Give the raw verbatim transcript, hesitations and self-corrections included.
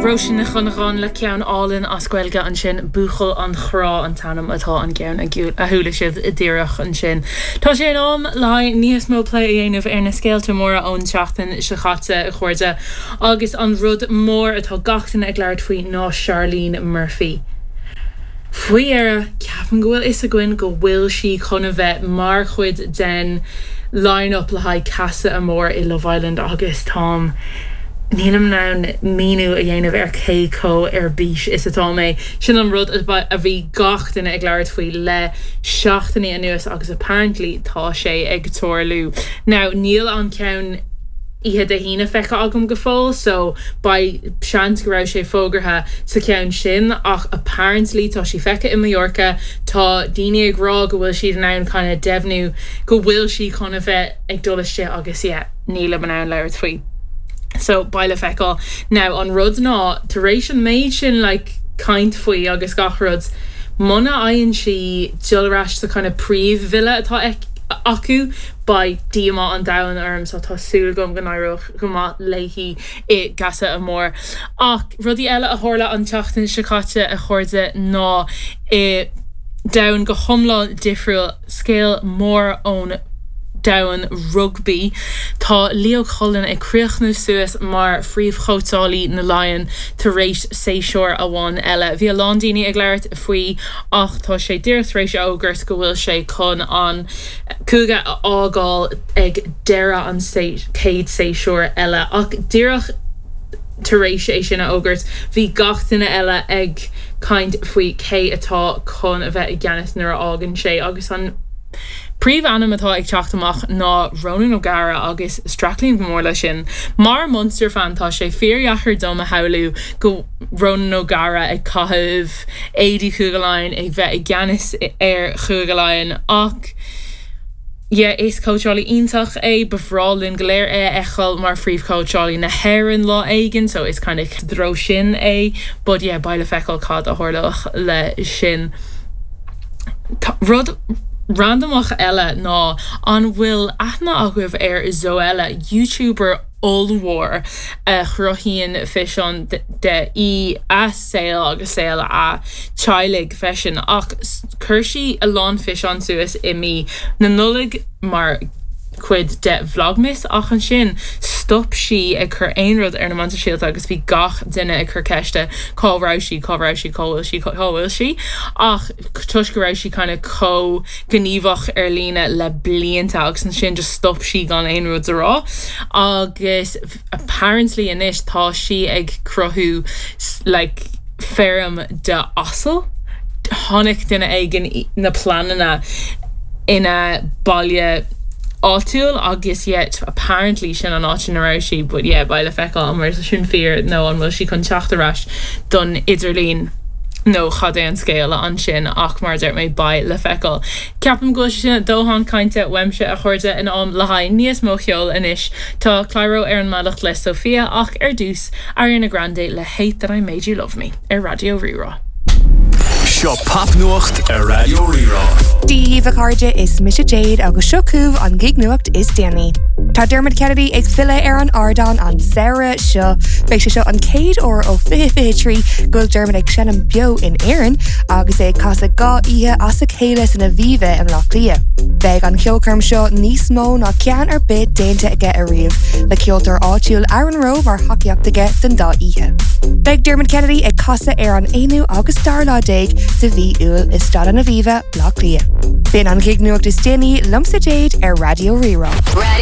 Róisín Nic Dhonnacháin le ceann álainn as Gaeilge ansin Buachaill an Chrá an t-ainm atá an ceann a chuala sibh díreach ansin. Tá sé in am le níos mó plé a dhéanamh ar na scéalta móra ón tseachtain seo caite a chairde agus an rud mór atá gach duine ag labhairt faoi ná Charlene Murphy. Faoi dheireadh ceapaim go bhfuil fhios againn go bhfuil sí chun a bheith mar chuid den line-up le haghaidh Casa Amor i Love Island agus táim Nílim in ann míniú a dhéanamh ar cé chomh ar bís is atá mé sin an rud a bhí gach duine ag labhairt faoi le seachtainí anuas agus apparently tá sé ag tarlú. Now níl an ceann oíche Dé hAoine feicthe agam go fóill, so beidh seans go raibh sé fógartha sa cheann sin ach apparently tá sí feicthe i Mallorca tá daoine ag rá go bhfuil siad in ann kind of deimhniú go bhfuil sí chun a bheith ag dul isteach agus yeah, nílim in ann labhairt faoi. So beidh le feiceáil. Now an rud ná tar éis an méid sin like, caint faoi agus gach rud, Muna fhaigheann sí dul ar ais sa kind of príomhvilla atá acu beidh díomá an domhain orm so tá súil agam go n-éireoidh go maith léi i gCasa Amor. Ach rudaí eile a tharla an tseachtain seo caite a chairde ná i domhan go hiomlán difriúil scéal mór ón domhan rugbaí. Tá Leo Cullen ag críochnú suas mar phríomhchóitseálaí na Laighean tar éis séasúr amháin eile. Bhí a lán daoine ag labhairt faoi ach tá sé díreach tar éis a fhógairt go bhfuil sé chun an cúige a fhágáil ag deireadh an chéad séasúr eile ach díreach tar éis é sin a fhógairt bhí gach duine eile ag caint faoi cé atá chun a bheith i gceannas nuair a fhágann sé agus an Príomhainm atá ag teacht amach ná Ronan O'Gara agus streachlaím go mór leis sin. Mar Munster fan tá sé fíordheacair dom a shamhlú go Ronan O'Gara ag caitheamh éadaí Chúige Laighean ag bheith i gceannas ar Chúige Laighean ach yeah, is cóitseálaí iontach é ba bhreá linn go léir é a fheiceáil mar phríomhchóitseálaí na hÉireann lá éigin, so is kind of dro sin é, but yeah, beidh le feiceáil cad a tharlóidh le sin. Rud randamach eile ná an bhfuil aithne agaibh ar Zoella YouTuber ollmhór a chruthaíonn físeáin de í a saol agus saol a teaghlaigh freisin ach chuir sí a lán físeán suas i mí na Nollag mar chuid de Vlogmas ach ansin stop sí ag cur aon rud ar na meáin shóisialta agus bhí gach duine ag cur ceiste cá raibh sí cá raibh sí cá bhfuil sí cá bhfuil sí ach toisc go raibh sí kind of chomh gníomhach ar líne le blianta agus ansin just stop sí gan aon rud a rá agus apparently anois tá sí ag cruthú like feirm de asal Tháinig duine éigin na pleananna ina baile áitiúil agus yet apparently sin an áit ina raibh sí but yeah beidh le feiceáil an bhfuil sin fíor nó an bhfuil sí chun teacht ar ais don idirlíon nó cad é an scéal ansin ach mar deir mé beidh le feiceáil. Ceapaim go bhfuil sin dóthain cainte uaimse a chairde in am le haghaidh níos mó ceoil anois Tá Clairo ar an mbealach le Sophia ach ar dtús Ariana Grande le Hate That I Made You Love Me ar Raidió Rí-Rá. Seo popnuacht ar Raidió Rí-Rá. Dia daoibh a chairde is mise Jade agus seo chugaibh an gig nuacht is déanaí. Tá Dermot Kennedy ag filleadh ar an ardán an samhradh seo, Beidh sé seo an chéad uair ó fiche fiche trí go bhfuil Dermot ag seinm beo in Éirinn agus é ag casadh dhá oíche as a chéile san Aviva i mBaile Átha Cliath. Beidh an cheolchoirm seo níos mó ná ceann ar bith déanta aige ariamh, le ceoltóir áitiúil Aaron Rowe mar thacaíocht aige don dá oíche. Beidh Dermot Kennedy ag casadh ar an aonú agus dara lá déag de mhí Iúil i Staid an Aviva, Baile Átha Cliath. B'in an gig nuacht is déanaí liomsa Jade ar Raidió Rí-Rá. Radio